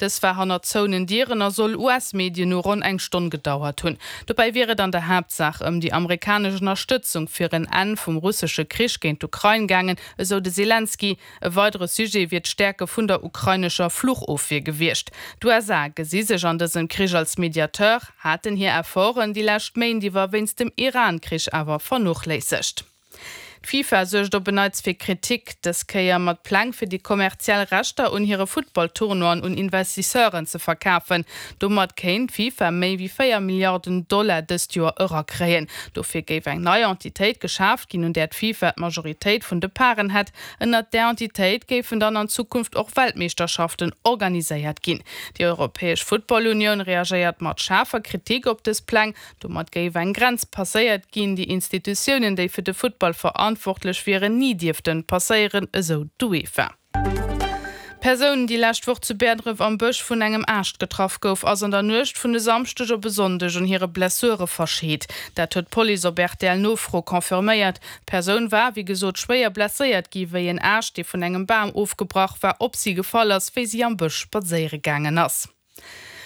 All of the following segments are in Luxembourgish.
Dës war hannert zouenen Dieren a soll US-Medien no ronn eng Stonn gedauert hunn. Dobäi wier et an der Haaptsaach ëm déi amerikanesch Ënnerstëtzung fir en Enn vum russesche Krich géint d'Ukrain gaangen, esou de Selenskyj. E weidere Sujet wier d'Stäerke vun der ukrainescher Fluchofwier gewiescht. D'USA gesi sech an dësem Krich als Mediateur, haten hir Efforten déi lescht Méint iwwer wéinst dem Iran-Krich awer vernochléissegt. D'FIFA suergt op en Neits fir Kritik, dës Kéier mat Pläng fir déi kommerziell Rechter un hire Futtball-Tournoien un Investisseuren ze verkafen. Domat kéint d'FIFA méi wéi 4 Milliarden Dollar dëst Joer erakréien. Dofir géif eng nei Entitéit geschaaft ginn, un där d'FIFA d'Majoritéit vun de Paren hätt. Ënnert där Entitéit géifen dann an Zukunft och Weltmeeschterschaften organiséiert ginn. Déi Europäesch Football-Unioun reagéiert mat schaarfer Kritik op dës Pläng. Domat géif eng Grenz passéiert ginn, déi Institutiounen, déi fir de Futtball verantwortlech wieren, ni dierften passéieren, esou d'UEFA. D'Persoun, déi lescht Woch zu Bäerdref am Bësch vun engem Aascht getraff gouf, ass an der Nuecht vun e Samschdeg op e Sonndeg un hire Blessure verscheet. Dat huet d'Police op RTL-Nofro confirméiert. D'Persoun war, wéi gesot, schwéier blesséiert gi wéi en Aascht, dee vun engem Bam ofgebrach war, op si gefall ass, wéi si am Bësch spadséiere gaangen ass.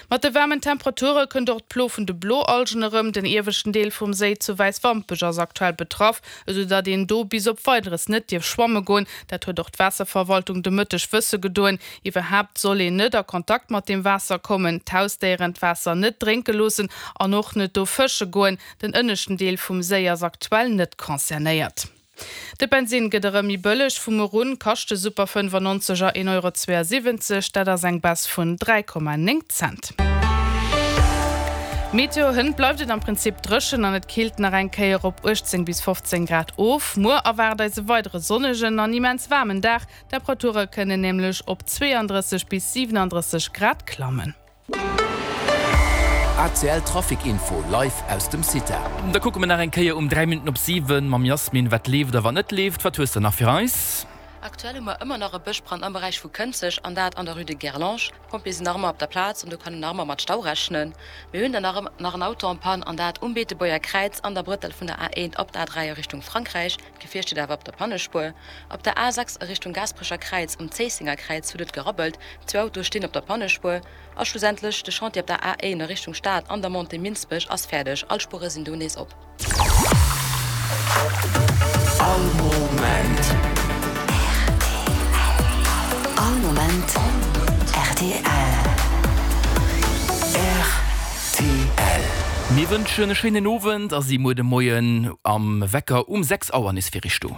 Mat de waarmen Temperature kënnt och d'Plo vun de Bloalgen erëm. Den ieweschten Deel vum Séi zu Wäiswampech ass aktuell betraff, esou datt een do bis op Weideres net dierf schwamme goen. Dat huet och d'Waasserverwaltung de Mëtteg wësse gedoen. Iwwerhaapt soll een net a Kontakt mat dem Waasser kommen, d'Hausdéieren d'Waasser net drénke loossen an och net do fësche goen. Den ënneschten Deel vum Séi ass aktuell net concernéiert. De Bensinn gëtt erëm méi bëlleg, vu muer un kascht de Super 95 er 1,72 Euro, dat ass eng Baisse vun 3,9 Cent. Meteo, Hënt bleift et am Prinzip dréchen an et killt nach eng Kéier op 18 bis 15 Grad of. Muer erwaart eis e weidere sonnegen an immens waarmen Dag, d'Temperature kënnen nämlech op 32 bis 37 Grad klammen. ACL Trafic Info live aus dem CITA. Da kucke mer nach eng Kéier um 3 Minutten op 7 mam Jasmin, wat leeft a wat net leeft. Wat hues de nach fir eis? Aktuell hu mer ëmmer nach e Bëschbrand am Beräich vu Kënzeg an dat an der Rue de Guerlange. D'Pompjeeë sinn nach ëmmer op der Plaz an do kann een nach ëmmer mat Stau rechnen. Mir hunn dann nach nach en Auto en panne an dat um Beetebuerger Kräiz an der Brëttel vun der A1 op d'A3 a Richtung Frankräich. D'Gefier steet awer op der Pannespuer. Op der A6 a Richtung Gaasperecher Kräiz um Zéissenger Kräiz huet et gerabbelt, zwou Autoe stinn op der Pannespuer. A schlussendlech, de Chantier op der A1 a Richtung Stad an der Montée Minsbech ass fäerdeg, all Spuere sinn do nees op. All Moment. All Moment rtl. Rtl. Mir wënschen e schéinen Owend a si muer de Moien am Wecker um 6 Auer nees fir iech do.